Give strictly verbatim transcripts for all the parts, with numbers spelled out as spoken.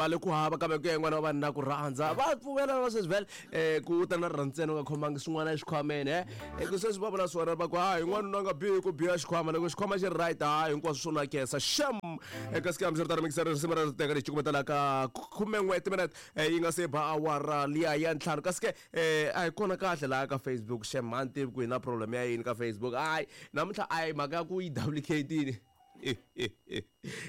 Mali ku hava kambe ku ya yin'wana wa vanhu na ku rhandza va pfumela va sweswi vhele um ku ta na rirhandzu u nga khomangi swin'wana exikhwameni e ku sweswi va vula swona va ku hayi n'wanuna a nga bihi ku biha xikhwama loko xikhwama xi ri right hayi hinkwaswo swo nakesa xem eka siku hambiswiritano mikiseri risimu ra teka lexi cukumetela ka khumen'we timinete yi nga se ba awara liya ya ntlhanu kasi ke um a hi kona kahle laha ka Facebook xem a ni tivi ku hi na problem ya yini ka Facebook hayi namuntlha a hi mhaka ya ku yi duplicate-ini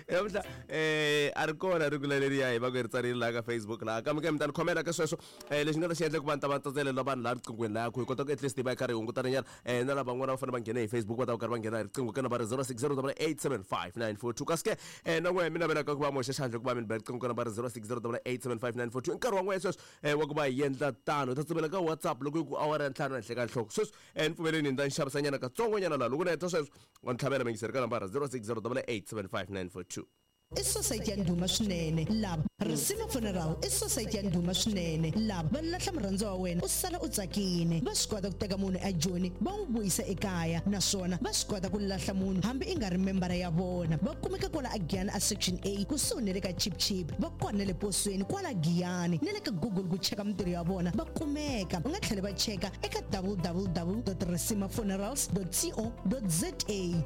namuntlha eh a ri kona ri kula leriya hi va ku ri tsarile laha ka Facebook laha kambe ke mi ta ni khomela ka sweswo um lexi nga ta xi endla ku va ni ta va tsatselela vanhu laha riqinghweni laha ku hi kota ku at least hi va hi karhi hi hungutana nyana um na lavan'wana va fanele va nghene hi Facebook va ta va karhi va nghena hi riqingho ka nambara zero six zero double eight seven five nine four two kasi ke um na n'we mi navelaka ku va moxa xandla ku va mi ni ba riqingho ka nambara zero six zero double eight seven five nine four two i nkarhi wa n'we sweswo um wa ku va hi endla tano hi ta tsumela ka WhatsApp loko yi ku awara ya ntlhanu henhla ka nhloko sweswi um ni pfumeleni ni ta ni xavisanyana katsongonyana laha loko ni heta sweswo wa ni tlhavela mingiseri ka nambara zero six zero double eight seven five nine four two I society ya ndhuma swinene lava Risima Funeral i society ya ndhuma swinene lava va lahla murhandziwa wa wena u sala u tsakini va swi kota ku teka munhu ejoni va n'wi vuyisa ekaya naswona va swi kota ku lahla munhu hambi i nga ri membara ya vona va kumeka kwala a Giyani a Section A kusuhi na le ka Chip Chip va kona na le posweni kwala Giyani na le ka Google ku cheka mintirho ya vona va kumeka u nga tlhela va cheka eka w w w dot risima funerals dot co dot za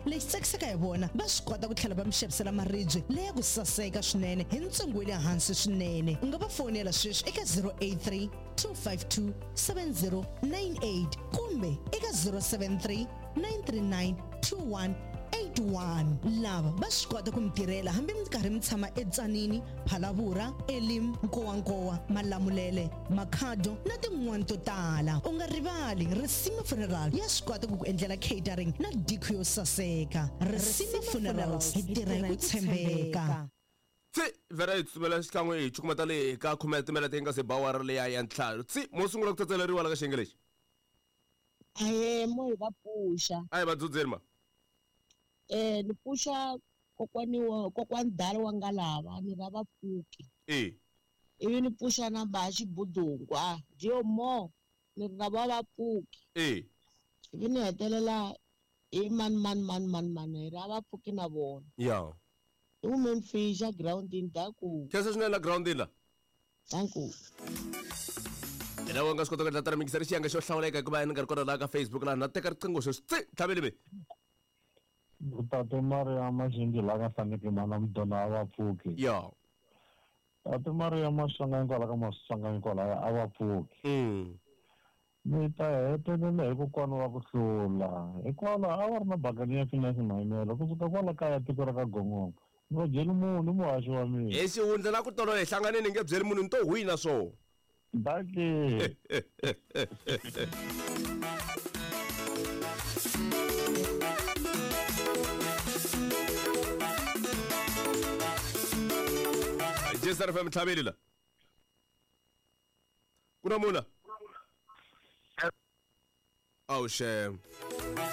lexi tsakisaka hi vona va swi kota ku tlhela va mi xavisela maribye leya ku saseka swinene hi ntsengo wa le hansi swinene u nga va fonela sweswi eka zero eight three two five two seven zero nine eight kumbe eka zero seven three nine three nine two one eight one lava va swi kota ku mi tirhela hambi mi karhi mi tshama eTsanini Phalavura Elim Nkowankowa Malamulele Makhado na tin'wani to tala u nga rivali Risima Funeral ya swi kota ku ku endlela catering na diko yo saseka Risima Funerals hi tirha hi ku tshembeka tsi vhela hi tsutsumela xikan'we hi cukumeta le ka khume timinete yi nga se ba awara liya ya ntlhanu tsi mo sungula ku tsetseleriwa la ka xiyenge lexi Ahee mo hi va pfuxa a hi va dzudzeni ma eh ni pfuxa kokwani wa kokwani dala wa nga lava ni ra vapfuki e ivi ni pfuxa na ba xibudungwa dio mo ni ra va vapfuki e ivi ni hetelela hi mani mani mani mani mani hi ra vapfuki na vona ya i women fisha groundini daku khensa swinene la groundini la danku yena wa nga swi kota ku endla tana mingiseri xiyenge xo hlawuleka hikuva ni nga ri kona laha ka Facebook laha na teka riqingho sweswi tsi tlhaveli mi Tate Maria Maxingi la ka hlaneke mana mudona a va pfuki ya Tate Maria Maswanganyi kwala ka Maswanganyi kwalaya a va pfuki mm ni ta hetelela hi kokwana wa ku hlula hikwalaho a va ri na bakani ya finance mayimelo kusuka kwala kaya tiko ra ka Gongongo ni va byeli munhu muhaxi wa mina hi xihundla na ku tolo hi hlanganini nge byeli munhu ni to hwina swo dake J S R F M tlhaveli la ku na mula awu xem.